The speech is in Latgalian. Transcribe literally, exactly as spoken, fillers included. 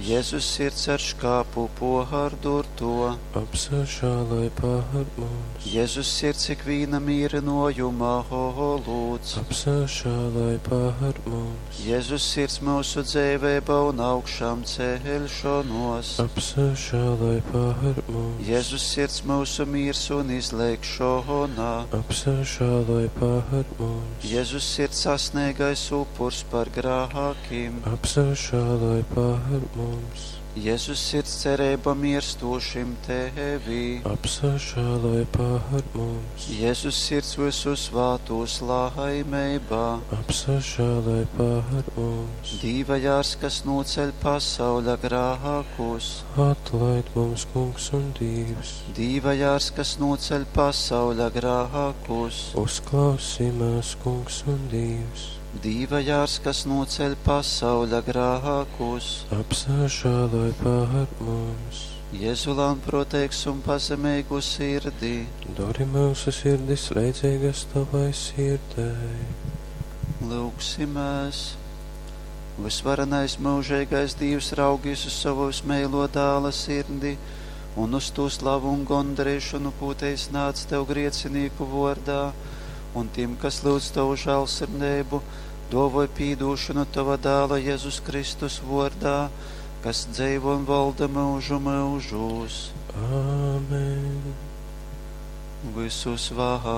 Jēzus sirds ar škāpu pohārdurto. Apsažāloj par mums. Jēzus sirds ikvīna mīrinojuma olūts. Apsažāloj par mums. Jēzus sirds mūsu dzeiveiba un augšām ceļšanos. Apsažāloj par mums. Jēzus sirds mūsu miers un izlēkšana. Apsažāloj par mums. Jēzus sirds sasniegais upurs par grākiem. Apsažāloj par mums. Jēzus sirds cerība mirstošim tevī. Apsažāloj par mums. Jēzus sirds visu svātos laimībā. Apsažāloj par mums. Dīva jārs, kas noceļ pasauļa grākus. Atlaid mums, kungs un Dievs. Dīva jārs, kas noceļ pasauļa grākus. Uzklausī mūs, kungs un Dievs. Dīva jārs, kas noceļ pasauļa grākus. Apsažāloj par mums. Jēzu lānproteigs un pazemīgu sirdī. Dori mūsu sirdis leidzīgas tavai sirdei. Lūgsimies! Visvarenais mūžīgais Dievs raugīs uz savu vismīlo dāla sirdi un uz to slavu un gondarīšanu, ko te iznāc tev griecinīku vārdā, un tiem, kas lūdz tavu žēlsirdību, dovoj pīdūšanu tava dāla Jēzus Kristus vārdā, kas dzīvo un valda mūžu mūžos. Āmen. Visus vārdu.